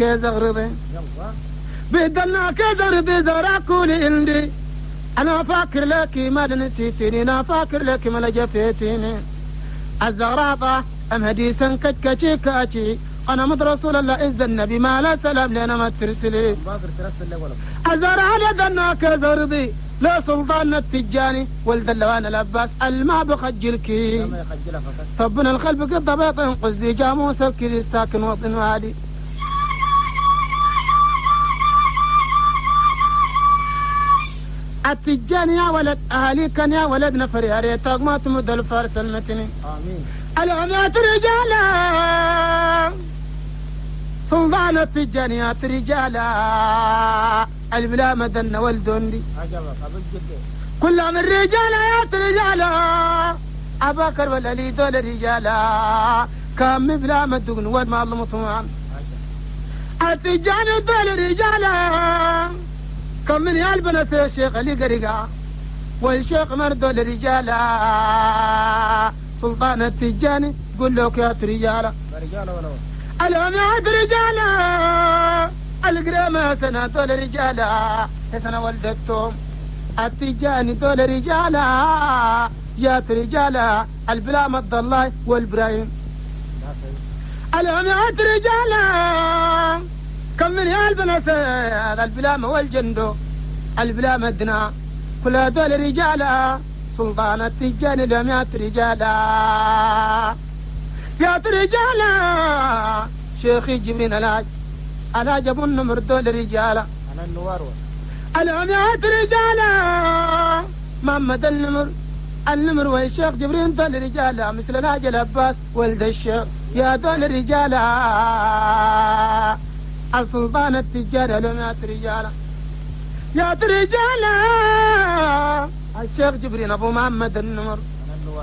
كزغرضي بدلنا كزغرضي زراكولي عندي أنا فاكر لك ما نسيتني أنا فاكر لك ما لجفيتني الزغراطة أم هديسا كتكتي كاتي أنا مد رسول الله إذ النبي ما لا سلام لنا ما ترسلي الزرع لدنا كزرضي لا سلطان التجاني ولد اللوان الأباس الما بخجلك طبنا الخلف قد بيطن قزي جاموس الكري الساكن وطن وادي التجاني يا ولد أهلي كان يا ولد نفر يا ريتك ما تمد الفارس المتني آمين العمات رجالا سلطان التجانيات رجالا البلا مدن والدندي كل من رجالا رجالا أباكر والعلي دول رجالا كم بلا مدن والما المطمعان التجاني دول رجالا كم من يالبنة الشيخ اللي قرقا والشيخ مردول رجالا سلطان التجاني قل لك يا رجالا العماد رجالا القرامة سنة دول رجالا سنة ولدتهم التجاني دول رجالا يا رجالا البلا مد الله والبرايم العماد رجالا كم من يالبنة البلامة والجندو البلامة دنا كل دول رجالا سلطان التجاني لم رجالا يا رجالا شيخي جبرين الهاج الهاج ابو النمر دول رجالا انا النوار العميات رجالا محمد النمر النمر والشيخ جبرين دول رجالا مثل الهاج العباس ولد الشيخ يا دول رجالا السلطان التجاري العميات رجالا يا رجالا الشيخ جبرين ابو محمد النمر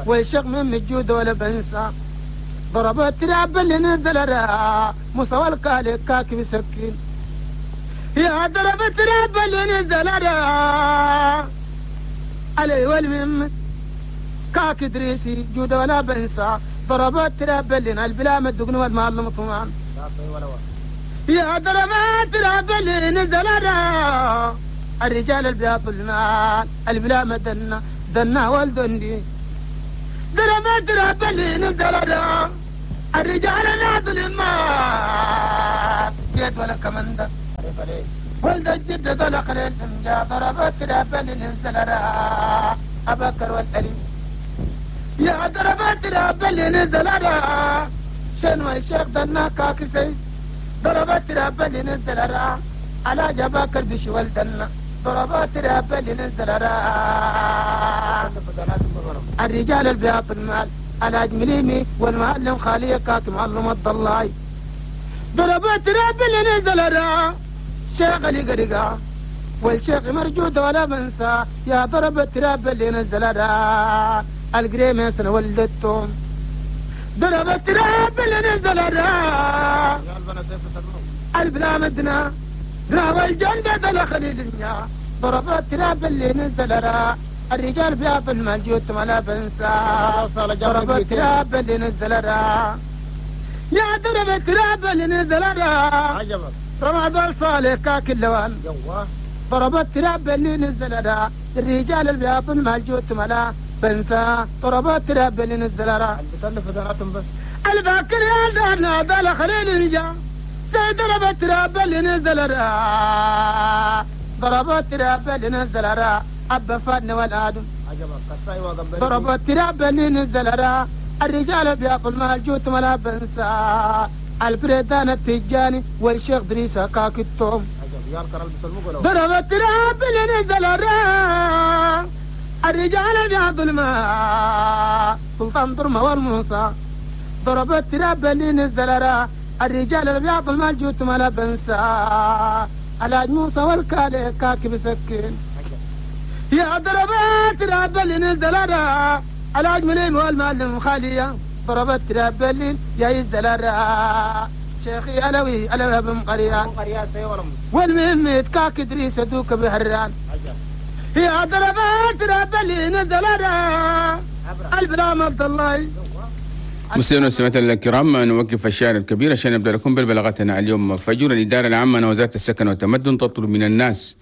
والشيخ من الجود ولا بنسى ضرب التراب اللي نزل موسى والكالي كاكي بسكين يا ضرب التراب اللي نزل علي والمم كاك دريسي جود ولا بنسى ضرب التراب اللي البلا مدقن والمال مطمعان يا ضرب التراب اللي نزل الرجال البياض المال البلا مدنا دنا والدندي ضرب التراب اللي نزل الرجال ناظل المال جيت ولا كمندة ولد الجد ذل خليل سمجا ضرب التراب اللي نزل أبكر والأليم يا ضرب التراب اللي نزل شنو الشيخ دنا كاكسي ضرب التراب اللي نزل على جباكر بشي ولدنا ضرب التراب اللي نزل الرجال البياض المال الهاج مليمي والمعلم خالية كاك معلم الضلاي ضرب التراب اللي نزل شيخ اللي قرقا والشيخ مرجود ولا بنسى يا ضرب التراب اللي نزل القريمة سنة ولدتهم ضرب التراب اللي نزل البلا مدنا راوى الجنة دخل الدنيا ضرب التراب اللي نزل الرجال بياض المال جوت ولا بنسى ضرب التراب اللي نزل يا ضرب التراب اللي نزل رمضان صالح كاك اللوان ضرب التراب اللي نزل الرجال البياض المال جوت ولا بنسى ضرب التراب اللي نزل الباكر يا دارنا دال خليل الجا ضرب التراب اللي نزل ضرب التراب اللي نزل أبا فادنا والآدم ضرب التراب اللي نزل الرجال بياض المال جوت ولا بنسى البريدان التجاني والشيخ دريسة كاك التوم ضرب التراب اللي نزل الرجال بياض المال سلطان درمة والموسى ضرب التراب اللي نزل الرجال البياض المال جوت ولا بنسى الهاج موسى والكالي كاك بسكين يا ضربات تراب اللي نزل الهاج مليم والمعلم خالية ضربت تراب اللي يا يزل شيخي علوي علوي بن قريان والمهم كاك دريس دوك بهران يا ضربات تراب اللي نزل البلام عبد الله. مستمعينا والمستمعات الكرام، نوقف الشاعر الكبير عشان نبدا لكم ببلاغتنا اليوم فجر. الادارة العامة لوزارة السكن والتمدن تطلب من الناس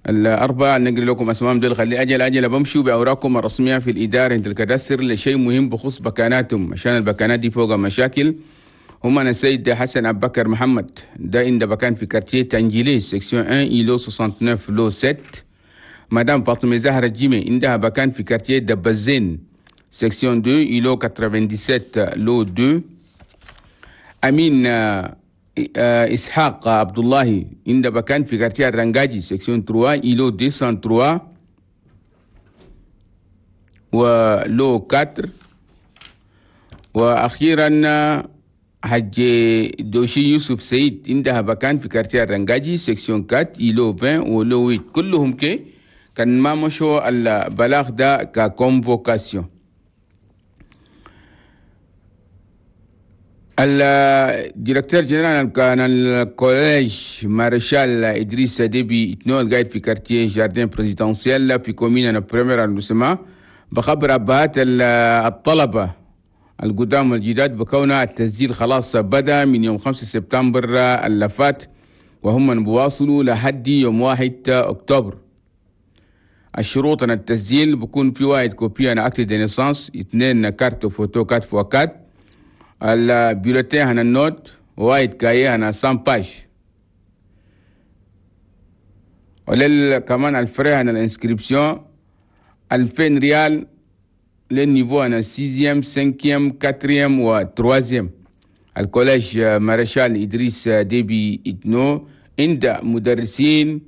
الأربعة، نقري لكم أسمائهم دول، خلي أجل أجل بمشوا بأوراقكم الرسمية في الإدارة عند ال cadastre لشيء مهم بخص بكاناتهم، عشان البكانات دي فوق مشاكل. هم أنا السيد حسن أبو بكر محمد ده عند بكان في quartier تنجيلي section 1 îlot 69 lot 7. مدام فاطمة زهرة جيمي عندها بكان في quartier دبزين section 2 îlot 97 lot 2. أمين إسحاق عبد الله عند بكان في quartier الرنجاجي section 3 îlot 203 و lot 4. وأخيرا حج دوشي يوسف سيد عندها بكان في quartier الرنجاجي section 4 îlot 20 و lot 8. كلهم كي كان ما مشوا البلاغ ده ك convocation. ال directeur général كان ال collège مارشال إدريس ديبي إتنو القاعد في quartier jardin présidentiel في commune premier arrondissement بخبر أبهات الطلبة القدام والجداد بكون التسجيل خلاص بدأ من يوم 5 سبتمبر اللي فات، وهم بواصلوا لحد يوم 1 أكتوبر. الشروط أن التسجيل بكون في واحد copie عن acte de naissance، 2 carte photo quatre fois quatre، ال bulletin هنا ال notes، واحد cahier هنا 100 pages، ولل كمان ال frais هنا ال inscription 2000 ريال لل niveau هنا 6 5 4 و 3. ال collège مارشال إدريس ديبي إتنو عند مدرسين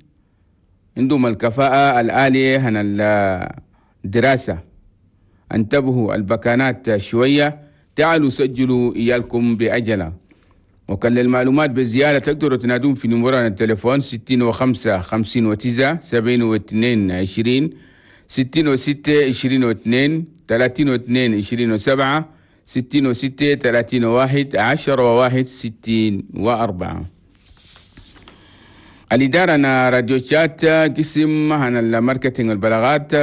عندهم الكفاءة العالية هنا الدراسة. انتبهوا البكانات شوية، تعالوا سجلوا إيالكم بعجلة. وكان للمعلومات بزيادة تقدروا تنادون في نمران التليفون 65 59 72 20 66 22 32 27 66 31 10 1 64. الإدارة أنا راديو شات قسم هنا ال marketing والبلاغات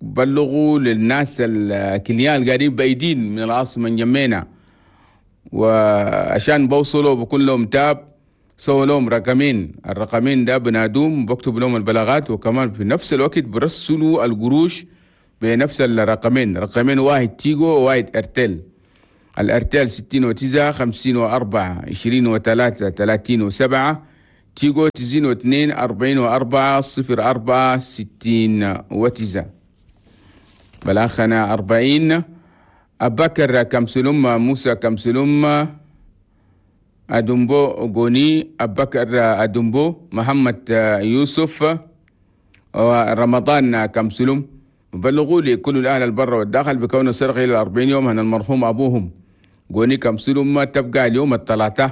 بلغوا للناس ال clients القاعدين بعيدين من العاصمة نجمينا، وعشان بوصلوا بكون لهم تاب سووا لهم رقمين، الرقمين ده بنادوم بكتب لهم البلاغات، وكمان في نفس الوقت برسلوا القروش بنفس الرقمين، رقمين واحد تيجو وواحد ارتيل. الارتيل 69 54 23 37، تيجو 92 44 04 69. بلاخنا 40 أبكر كمسلوم موسى كمسلوم أدومبو غوني أبكر أدومبو محمد يوسف ورمضان كمسلوم بلغوا لي كل الأهل البر والداخل بكون السرقة إلى 40 يوم هن المرحوم أبوهم غوني كمسلوم تبقى اليوم الثلاثاء.